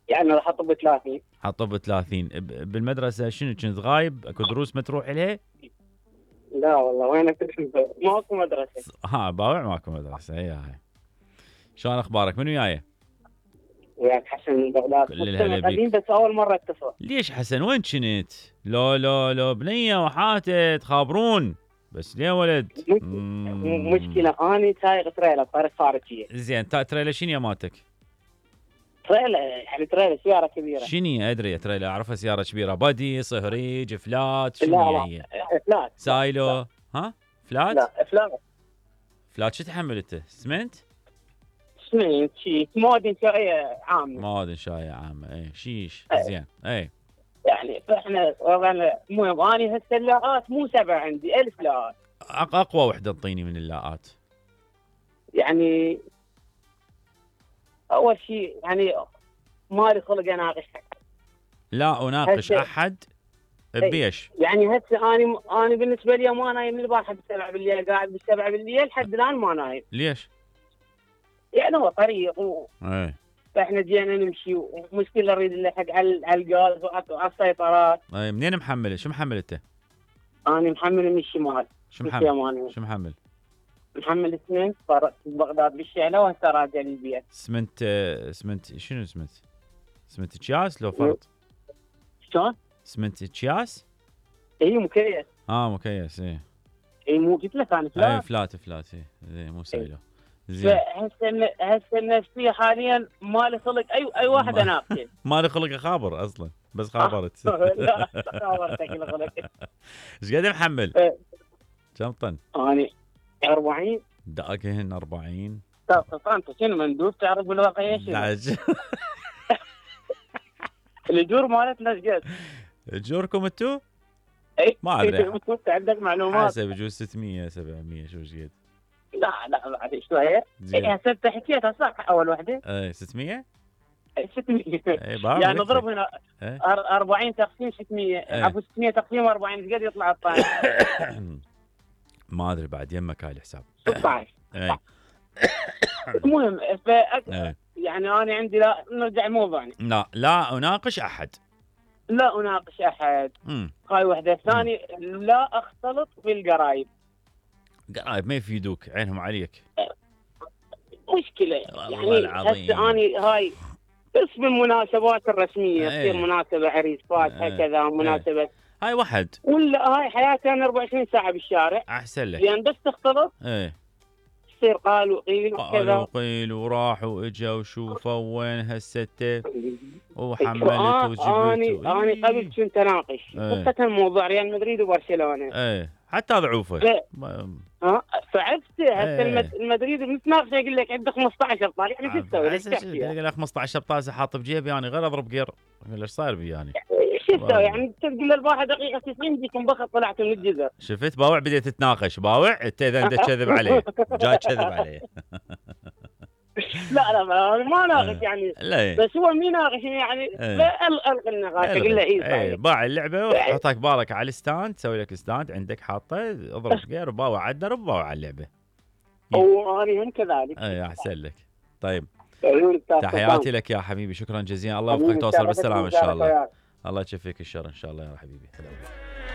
يعني راح اطب 30. حطب 30. بالمدرسه شنو كنت غايب؟ اكو دروس ما تروح لها؟ لا والله وين كنت ماكو مدرسه. باوع ماكو مدرسه. هاي شلون اخبارك؟ من وياي؟ وياك حسن من بغداد. كل الهلا بيك. قديم بس اول مره اتصل. ليش حسن وين كنت؟ لو بنيه وحاتت خابرون بس ليه ولد؟ مشكله اني سايق تريلا بطريق خارجيه. زين تريلا شنو مالتك؟ تريلا يعني تريلا سياره كبيره. شنو ادري تريلا اعرفها سياره كبيره بادي صهريج فلات لا شنو لا هي؟ فلات. سايلو. ها فلات؟ لا فلات. فلات شو تحمل انت؟ اسمنت؟ اسمنت شيء مواد انشائيه عامه. مواد انشائيه عامه. اي شيش. زين اي يعني فاحنا وضعنا المهم اني هسه اللاءات مو 7 عندي 1000 لاءات. اقوى وحده انطيني من اللاءات. يعني اول شيء يعني مالي خلق اناقش حد. لا اناقش احد بيش؟ يعني هسه اني بالنسبه لي ما نايم من البارحه ب7 بالليل قاعد ب7 بالليل لحد الان ما نايم. ليش؟ يعني هو طريق اي فاحنا جينا نمشي ومشكله نريد نلحق على الغاز وعلى السيطرات. اي منين محمله؟ شو محمل انت؟ انا محمل من الشمال. شو محمل؟ شو محمل؟ محمل اسمنت فرقت بغداد بالشعله وهسه راجع للبيت. اسمنت شنو اسمنت؟ اسمنت اكياس لو فرط؟ شلون؟ اسمنت اكياس؟ اي مكيس. مكيس. اي مو قلت لك انا فلات. اي فلات اي زين مو سايلو. زين هسه النفسيه حاليا مالي خلق اي واحد اناقشه. مالي خلق اخابر اصلا بس خابرت. لا خابرتك خلق. ايش قد محمل؟ كم طن؟ اني 40. دقهن 40. انت شنو مندوب تعرف بالواقع ايش؟ لا الجور مالتنا ايش قد؟ اجوركم انتو؟ اي ما ادري. انت عندك معلومات؟ حسب بجوز 600 700 شو ايش قد؟ لا بعد شويه. هسه انت حكيتها صح اول وحده؟ اي 600؟ 600 يعني نضرب هنا 40 تقسيم 600 عفوا 600 تقسيم 40 ايش قد يطلع الطايح؟ ما ادري بعد يمك هاي الحساب. 16. المهم يعني انا عندي لا نرجع لموضوعنا. لا اناقش احد. لا اناقش احد. هاي وحده. ثاني لا اختلط بالقرايب. قرايب ما يفيدوك عينهم عليك. مشكله يعني هسه اني هاي بس بالمناسبات الرسميه تصير مناسبه عريس فاتحه كذا مناسبه هاي واحد ولا هاي حياتي انا 24 ساعه بالشارع. احسن لك لان بس تختلط تصير قال وقيل وكذا. قال وقيل وراح واجا وشوفوا وين هسته وحملت وجبت. اني قبل كنت اناقش خاصه موضوع ريال مدريد وبرشلونه. حتى ضعوفه. فعرفت هسه المدريد بنتناقش يقول لك عنده 15 ابطال يعني شو تسوي؟ يقول لك 15 ابطال حاط بجيبي يعني غير اضرب جير. ايش صاير بي يعني؟ شو تسوي يعني تقول له البارحه دقيقه 90 يجيكم بخت طلعت من الجزر. شفت باوع بديت تتناقش باوع انت اذا انت تكذب عليه جاي تكذب عليه. لا ما ناقش يعني بس هو مين ناقش يعني الغي النقاش اقول له اي باع اللعبه وحطك بالك على الستاند تسوي لك ستاند عندك حاطه اضرب غير باوع على الدرب باوع على اللعبه. واني هم كذلك. احسن لك. طيب تحياتي لك يا حبيبي شكرا جزيلا الله يوفقك توصل بالسلامه ان شاء الله. الله يشفيك الشر ان شاء الله يا حبيبي.